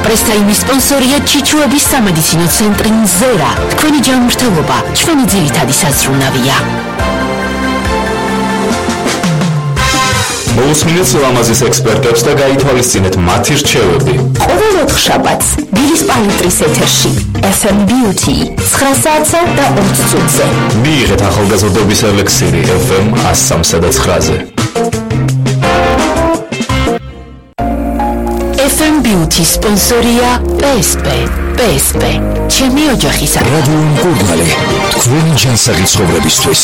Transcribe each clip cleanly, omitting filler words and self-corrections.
პრესტაიმის სპონსორია ჩიჩუების სამედიცინო ცენტრი ზერა. თქვენი ჯანმრთელობა ჩვენი ძირითადი საზრუნავია. მოусმინეთ ლამაზის ექსპერტებს და გაითვალისწინეთ მათი რჩევები. ყოველ ოთხშაბათს ბილის პალიტრის ეთერში FM Beauty 9 საათსა და 20 წუთზე. მიიღეთ ახალგაზრდობის ელექსირი FM 103 და 9-ზე. FM Beauty სპონსორია PSP. ჩემი ოჯახის რადიო მკურნალი თქვენი ჯანსაღი ცხოვრებისთვის.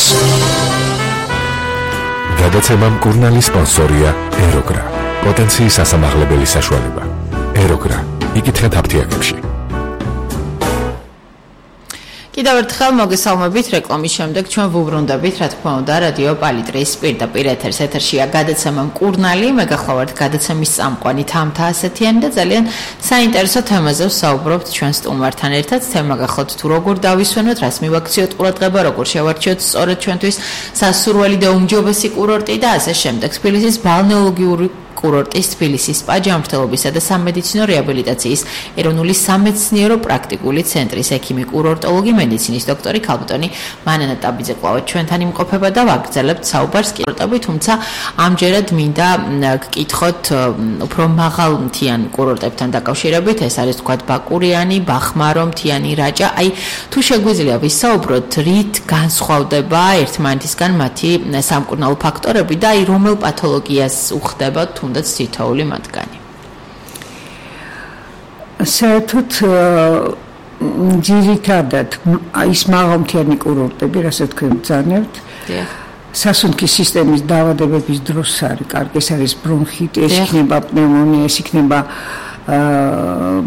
გადაცემა მკურნალი სპონსორია ეროგრა. პოტენციის ასამაღლებელი საშუალება. ეროგრა. იკითხეთ აფთიაქებში. კიდევ ერთხელ მოგესალმებით რეკლამის შემდეგ ჩვენ ვუბრუნდებით რა თქმა უნდა რადიო პალიტრის პირდაპირ ეთერშია გადაცემა მკურნალი მე გახლავართ გადაცემის წამყვანი თამთა ასეთიანი და ძალიან საინტერესო თემაზე ვსაუბრობთ ჩვენ სტუმართან ერთად თემა გახლავთ თუ როგორ დავისვენოთ რას მივაქციოთ ყურადღება როგორ შევარჩიოთ სწორედ ჩვენთვის სასურველი და უმჯობესი კურორტი და ასე შემდეგ თბილისის ბალნეოლოგიური კურორტის თბილისის სპა ჯანმრთელობისა და სამედიცინო რეაბილიტაციის ეროვნული სამეცნიერო პრაქტიკული centris ექიმი კურორტოლოგი მედიცინის დოქტორი ქალბატონი მანანა ტაბიძე ყავთ ჩვენთან იმყოფება და ვაგრძელებთ საუბარს კურორტები თუმცა ამჯერად მინდა გკითხოთ უფრო მაღალმთიან კურორტებთან დაკავშირებით ეს არის თქვათ ბაკურიანი, ბახმარო, მთიანი რაჭა აი თუ შეგვიძლია ვისაუბროთ რით განსხვავდება ერთმანეთისგან მათი სამკურნალო ფაქტორები და აი რომელ პათოლოგიას უხდება თუნდაც თითოეული მათგანი. საერთოდ ძირითადად ის მაღალმთიანი კურორტები, რასაც თქვენ ბრძანებთ, სასუნთქის სისტემის დაავადებების დროს არის კარგი, ეს არის ბრონხიტი, ეს იქნება პნევმონია, ეს იქნება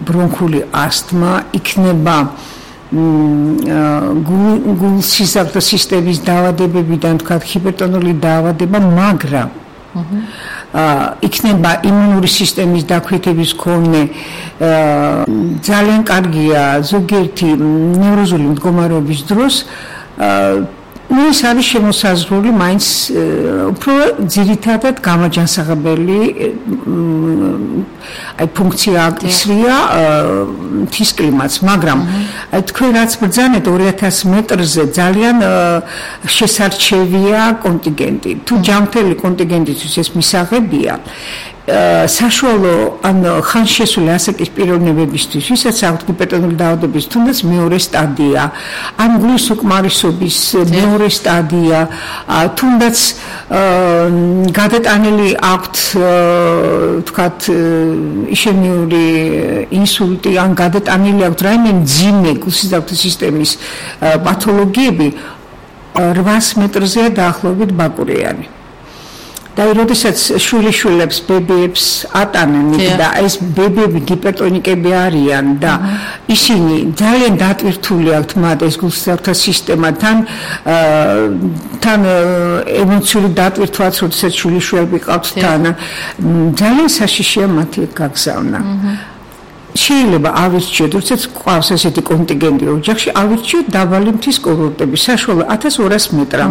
ბრონქული ასთმა, იქნება გულ-სისხლძარღვთა სისტემის დაავადებებიდან თქვათ ჰიპერტონული დაავადება, მაგრამ იქნება იმუნური სისტემის დაქვეითების მქონე ძალიან კარგია ზოგიერთი ნევროზული მდგომარეობის დროს ეს არის შემოსაზღვრული მაინც უფრო ძირითადად გამაჯანსაღებელი აი ფუნქცია აკისრია მთის კლიმატს მაგრამ აი თქვენ რაც ბრძანეთ 2000 მეტრზე ძალიან შესარჩევია კონტინგენტი თუ ჯანმრთელი კონტინგენტისთვის ეს მისაღებია საშუალო ან ხანშესული ასაკის პიროვნებებისთვის ვისაც აქვთ ჰიპერტონული დაავადების თუნდაც მეორე სტადია ან გულის უკმარისობის მეორე სტადია თუნდაც გადატანილი აქვთ თქვათ იშემიური ინსულტი ან გადატანილი აქვთ რაიმე მძიმე გულსისხლძარღვთა სისტემის პათოლოგიები 800 მეტრზეა დაახლოებით ბაკურიანი და როდესაც შვილიშვილებს ბებიებს ატანენ და ეს ბებიები ჰიპერტონიკები არიან და ისინი ძალიან დატვირთული აქვთ მათ ეს გულსისხლძარღვთა სისტემა თან ემოციური დატვირთვაც როდესაც შვილიშვილები ყავთ თან ძალიან საშიშია მათი გაგზავნა შეიძლება ავირჩიოთ, როდესაც ყავს ესეთი კონტინგენტი ოჯახში, ავირჩიოთ დაბალი მთის კურორტები, საშუალო 1200 მეტრამდე.